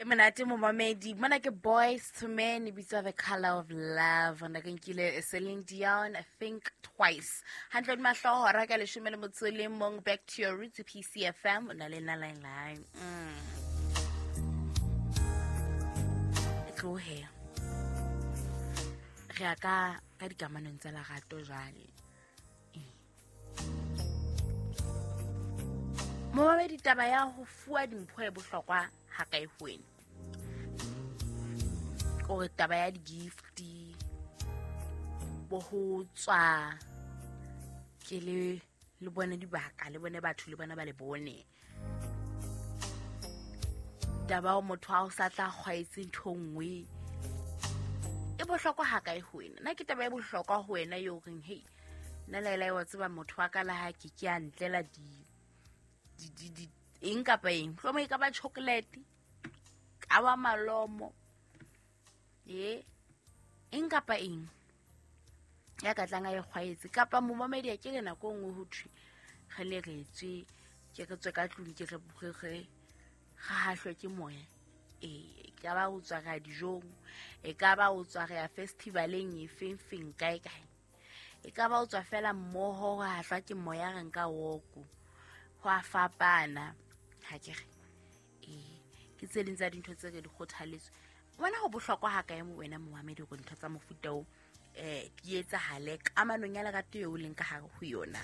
E monate momamedi mona ke Boys to Men, e bitswa The Color of Love. Na ke nkile Celine Dion, Think Twice. Hantle di mahloho hora ka 11. Back to your roots, PCFM. O na le nna line line. E tlohe re ya ka dikamanong tsa lerato jwale. Momamedi, taba ya ho fuwa dimpho e bohlokwa ha kae ho wena? Kore taba ya di-gift, bo ho tswa ke le bone dibaka, le bone batho, le bona ba le bone. Taba ya motho ha o sa tla kgwaetse ntho e nngwe e bohlokwa ha kae ho wena? Nna ke taba e bohlokwa ho wena eo reng, hei, nna laela wa tseba motho wa ka la ha ke ke a ntlela di eng kapa eng, mohlomong e ka ba chocolate, ka ba malomo, ye eng kapa eng ya ka tlang a e kgwaetse. Kapa momamedi, a ke re nako e nngwe ho thwe re ne re tswe, ke re tswe ka tlung, ke re hahlwe ke moya. E ka ba ho tswa re ya dijong, e ka ba ho tswa re ya festivaleng e feng feng kae kae, e ka ba ho tswa fela mmoho ho hahlwa ke moya, re nka woko, ho a fapana. Ha ke re ee, ke tse ding tsa dintho tse re di kgothaletswe. Wena ho bohlokwa ha kae mo wena momamedi hore ntho tsa mofuta o di etsahale kamanong ya lerato eo o leng ka hare ho yona?